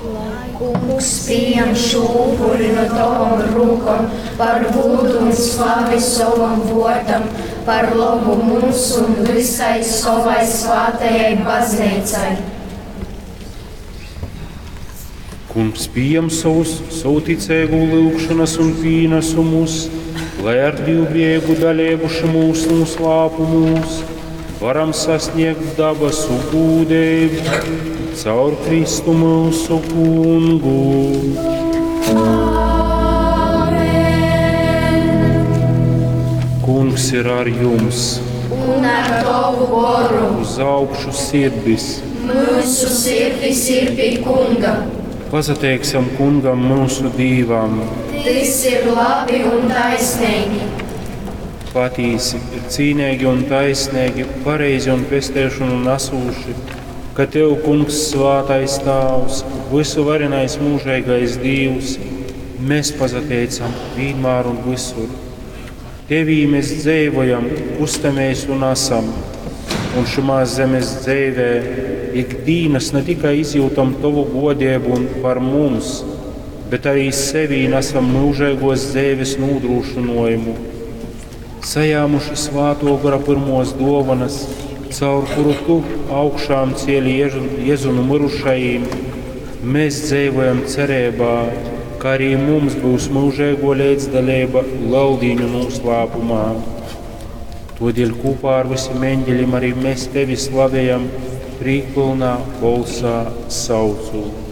Lai Kungs pieņem šo upuri no tavam rūkom par gūdu un slavi sovam vōrdam, par lobu mums un vysai sovai svātajai baznīcai. Kungs pieņem savus, savu ticīgu lūgšanas un pienesumus, lai ar divbēgu dalību šimūs noslēpumos varam sasniegt dabasu gūdību caur Kristu mūsu kungu. Kungs ir ar jums, Un ar tavu goru uz augšu sirdis. mūsu sirdis ir pie Kunga. Pasateiksim kungam mūsu dīvam. Tas ir labi un taisnīgi. Patīsi ir cīnīgi un taisnīgi, pareizi un pestēšanu nesūši, ka Tev, Kungs, svātais Tāvs, visu varenais mūžīgais Dievs, mēs pasateicam vienmēr un visur. Tevī mēs dzīvojam, kustamies un esam, un šumā zemes dzīvē ikdienas ne tikai izjūtam Tavu godību un par mums, bet arī sevī nesam mūžīgos dzīves nodrošinājumu sajāmuši svāto gara pirmos dovanas, caur kuru tu augšām cieli Jēzu no mirušajiem, mēs dzīvojam cerībā, ka arī mums būs mūžīgo līdzdalība Leldīņu noslēpumā. Todēļ kopā ar visiem eņģeļiem arī mēs tevi slavējam, prīkpilnā balsā saucot.